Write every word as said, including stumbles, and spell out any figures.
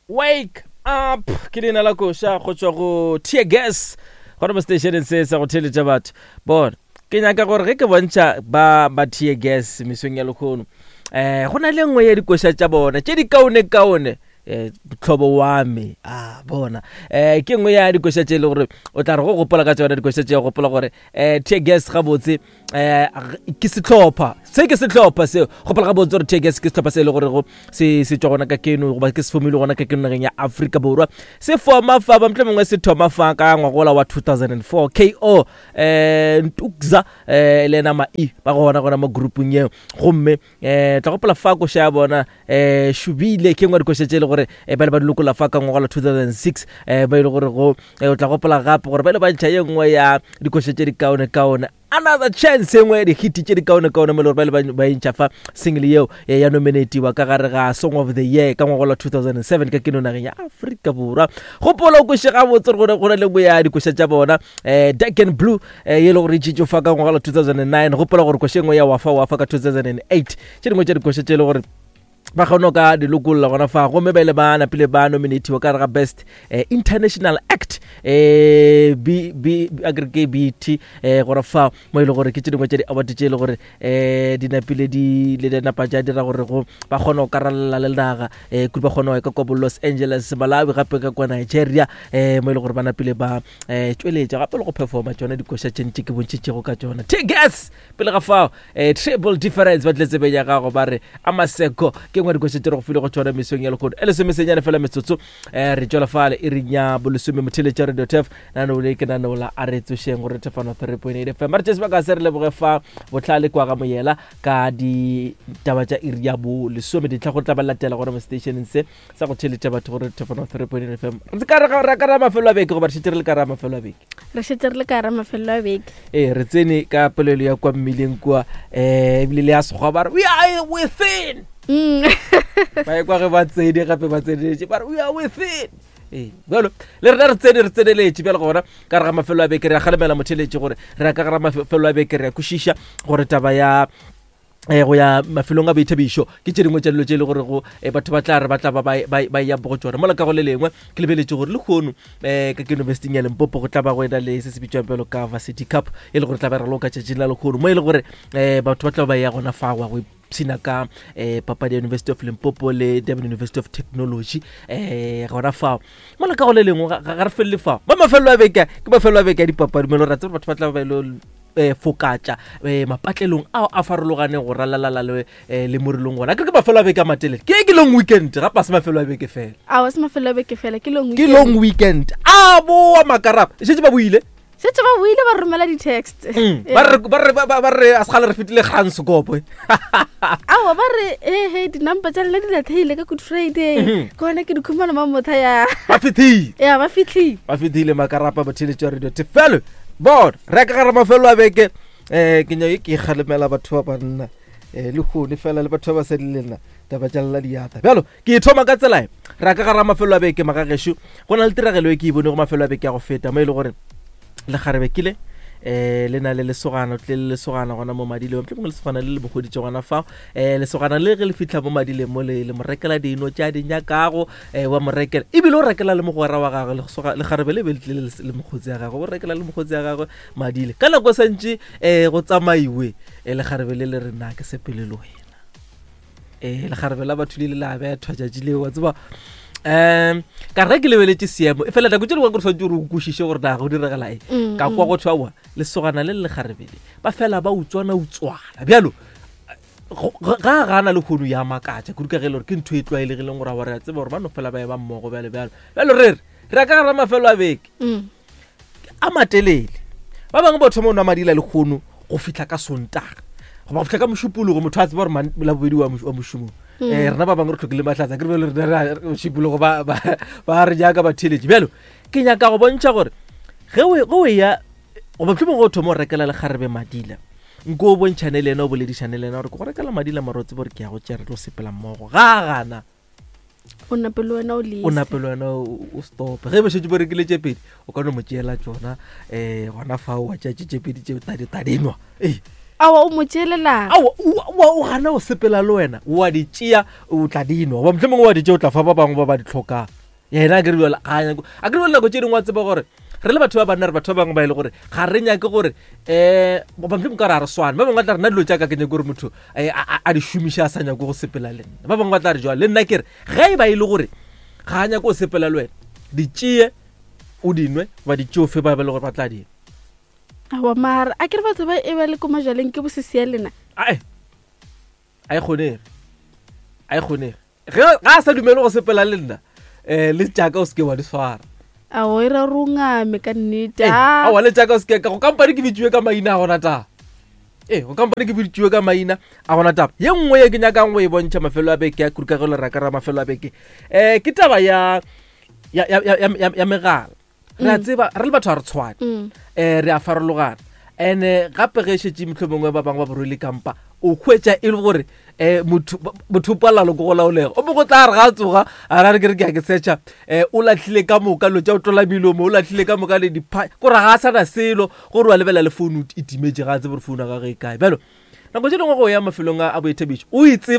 Wake up ke leina la koša go tšwa go Tear Gas gona mo stationeng se sa go theeletša batho. Bona, ke nyaka gore ge ke bontšha ba ba Tear Gas mesong ya lekgono, um go na le nngwe ya dikoša tša bona tše di kaone-kaone, um tlhobo wa me. A bona, um ke nngwe ya dikoša tše e le gore o tla re go gopola ka tsona dikoša tše, gopola gore um Tear Gas gabotse um ke sehlopha se, ke sehlopha seo. Gopola gabotse gore Tear Gas ke sehlopha se e le gore go se se tšwa gona ka keno, goba ke se fomile gona ka keno nageng ya Afrika Borwa. Se foma fa ba mohlomongwe se thoma fa ka ngwagola wa two thousand and four. K O um Ntukza um le ena Ma-E ba gona gona mo groupung yeo. Gomme um tla gopola fa koša ya bona um Shubile ke nngwe ya dikoša tše e le gore eh, ba ile ba di lokolla fa ka ngwaga la two thousand and six, eh, ba ile gore go, eh, o tla gopola gape gore ba ile ba ntšha ye nngwe ya dikoša tše di kaone-kaone, Another Chance, e nngwe ya dihiti tše di kaone-kaone mo e le gore ba ile ba, ba e ntšha fa single yeo, eh, ya nominatiwa ka gare ga Song of the Year ka ngwaga la two thousand and seven ka keno nageng ya Afrika Borwa. Gopola o kweše gabotse gore go na le nngwe ya dikoša tša bona, eh, Dark and Blue, eh, ye e le gore e tšetšwe fa ka ngwaga la two thousand and nine. Gopola gore koša e nngwe ya Wafa Wafa ka two thousand and eight. Tše dingwe tša dikoša tše e le gore ba kgone ka di lokolla gona fa, gomme ba ile ba napile ba nominatiwa ka gare ga Best, eh, International Act, eh, B, B, a ke re ke B T, eh, gona fa mo e le gore ke tše dingwe tša di-award tše e le gore, eh, di napile di le di napa tša dira gore go ba kgone go karalala le naga, eh, kudu ba kgone go ya ka kwa bo Los Angeles, Malawi, gape ka kwa Nigeria, eh, mo e le gore ba napile ba, eh, tšweletša gape le go performa tšona dikoša tše ntši ke bontšhitšego ka tšona. Tear Gas pele ga fao, eh, Triple Difference ba tlile tsebeng ya gago ba re Amaseko ke nngwe ya dikoša tše re go file go tšona mesong ya lekgono. E lesomesenyane fela metsotso, eh, re tšwela fale e reng ya bolesome motheletša Radio T F. Nano le ke nano la a re tsošeng gore Tefano three point eight F M. Re tšee sebaka se re leboge fa bohlale kwa ga Moyela ka ditaba tša iri ya bolesome dintlha go tla ba latela gona mo stationeng se sa go theletša batho gore Tefano three point eight F M. Re ka re ga re ka ra mafelo a beke goba re šetše re le ka ra mafelo a beke? Re šetše re le ka ra mafelo a beke. Ee, re tsene ka polelo ya kwa mmileng kua, eh, ebile le ya Sekgowa ba re we are within. Mm. Ba e kwa ge ba tsene gape ba tseneletše ba re we are within. Ee, bjalo le rena re tsene re tseneletše bjalo gona ka re ga mafelo a beke. Re a kgalemela motheletše gore re ya ka gare ga mafelo a beke, re a kwešiša gore taba ya, eh, go ya mafelong a boithabišo ke tše dingwe tša dilo tše e le gore go, eh, batho ba tla re ba tla ba ba, ba, ba ya go tšona. Mola ka go le lengwe ke lebeletše gore lehono, eh, ka ke University ya Limpopo go tla ba go ena le se se bitšwang bjalo ka Varsity Cup, e le gore tla ba re raloka tšatšing la lehono, mo e le gore, eh, batho ba tla ba ya gona fa go ya go ipshina ka, eh, papadi ya University of Limpopo le Durban University of Technology, eh, gona fao. Mola ka go le lengwe ga, ga, ga re felele fao. Ba mafelo a beke, ke mafelo a beke a dipapadi, mo e le gore re a tseba batho ba tla ba ilo, eh, fokatša, eh, mapatlelong ao a farologaneng go ralalala le, eh, le morilong gona. Ke re ke mafelo a beke a matelele. Ke, ke long weekend, gape a se mafelo a beke fela. Ao, a se mafelo a beke fela, ke long Ke weekend. long weekend. A boa makarapa. Šetše ba boile? Šetše ba boile, ba romela di-text. Mm. Ba re, ba re, ba, ba, ba re, a se kgale re fetile Kranskop, eh. Aowa, ba re, eh, he, di-number tša lena di latlhehile ka Good Friday. Mm-hmm. Ke gona ke di khumana mo motha ya. Ba fihlile. Ya, ba fihlile. Ba fihlile makarapa motheletši wa Radio Tefelo. Bona, re ka gare mafelo a beke, eh, ke nyake ke kgalemela batho ba banna, eh, le kgone fela le batho ba basadi le nna, taba tša lela diatla. Bjalo, ke e thoma ka tsela e. Re ka gare mafelo a beke, magagešo, go na le tiragelo e ke e bone go mafelo a beke ya go feta, mo e le gore lekgarebe ke le, eh, le na le lesogana, o tlile le lesogana gona mo madileng, mohlomongwe lesogana le le mo hweditše gona fao. Eh, lesogana le ge le fihla mo madileng mo le, le mo rekela dino tša di nyakago, eh, wa mo rekela, ebile o rekela le mogwera wa gagwe, lesoga-, lekgarebe le be le tlile le, le mokgotsi ya gagwe, o rekela le mokgotsi ya gagwe madile. Ka nako santše, eh, go tsamaiwe, eh, lekgarebe le le re na ke sepele le wena. Eh, lekgarebe la batho le ile la bethwa tšatši leo, wa tseba. Um, ka re ke lebeletše seemo, e fela nako tše dingwe ke re swanetše gore o kwešiše gore na go diragala eng. Mm, Ka kwa mm. go thwe aowa, lesogana le le lekgarebe le, ba fela ba utswana utswana. Bjalo, go, ga, ga gana le kgono ya makatša, kudu ka ge e le gore ke ntho e tlwaelegileng gore aowa re a tseba gore ba no fela ba e ba mmogo bjalo bjalo. Bjalo re re, re ya ka gare ga mafelo a beke. Mm. A matelele. Ba bangwe ba thoma go nwa madila le kgono go fihla ka Sontaga. Goba go fihla ka Mošupologo, motho a tseba gore man-, Labobedi wa moš-, wa mošomong. Mm. Eh, rena ba bangwe re hlokile mahlatsa, ke re bjalo rena re a-, Mošupologo ba, ba, ba re jaaka ba theeletše. Bjalo, ke nyaka go bontšha gore ge o, ge o eya, goba mohlomongwe ge o thoma go rekela lekgarebe madila, nko o bontšhane le yena, o boledišane le yena gore ke go rekela madila mara o tsebe gore ke ya go tšea, re tlo sepela mmogo. Ga a gana, O nape le wena o lese. O nape le wena o, o stope. Ge ba šetše ba rekile tše pedi, o ka no mo tšeela tšona, eh, gona fao wa tšea tše tše pedi tše tadi, tadi nwa. Ee. Aowa, o mo tšeelelang. Aowa, o- o o gana go sepela le wena, o a di tšea, o tla di nwa, goba mohlomongwe wa di tšea o tla fa ba bangwe ba ba di tlhokang. Yena a ke re bjale ga a nyake, a ke re bjale nako tše dingwe wa tseba gore re le batho ba banna, re batho ba bangwe ba e le gore ga re nyake gore um goba mohlomongwe ka re ga re swane. Ba bangwe ba tla re nna dilo tša ka ke nyake gore motho eh, a a- a di šomiše a sa nyake go sepela le nna. Ba bangwe ba tla re jwale le nna ke re ge e ba e le gore ga a nyake go sepela le wena, di tšee o di nwe, goba di tšee o fe ba ba e le gore ba tla di nwa. Aowa, mara a ke re batho ba e ba le ko majaleng ke bosesi ya lena. Ae, a e kgonege, a e kgonege. Ge ga a sa dumele go sepela le nna, um le tšaka o seke wa di swara. Aowa, e ra gore o ngame ka nnete. Ee, Ah. aowa, le tšaka o seke ka go kampane ke bitsiwe ka maina a gona taba. Ee, go kampane ke bitsiwe ka maina a gona taba. Ye nngwe ye ke nyakang go e bontšha mafelo a beke ya kudu ka ge le raka ra mafelo a beke, um ke taba ya ya ya ya ya ya megala. Re a tseba re le batho ga re tshwane, Mm. um re a farologana. And-e gape ge šetše mohlomongwe ba bangwe ba borwele kampa, o hwetša e le gore um motho motho o palelwa le ke go laolega. O mongwe o tla re ga a tsoga a ra re ke re ke ya ke searcha, um o latlhile ka moka dilo tša go tlola melomo, o latlhile ka moka le dipha, kore ga a sana selo, gore wa lebelela le phone e timetše, ga a tsebe gore phone ya gagwe e kae. Bjalo nako tše dingwe go ya mafelong a a boithabišo o e tseba.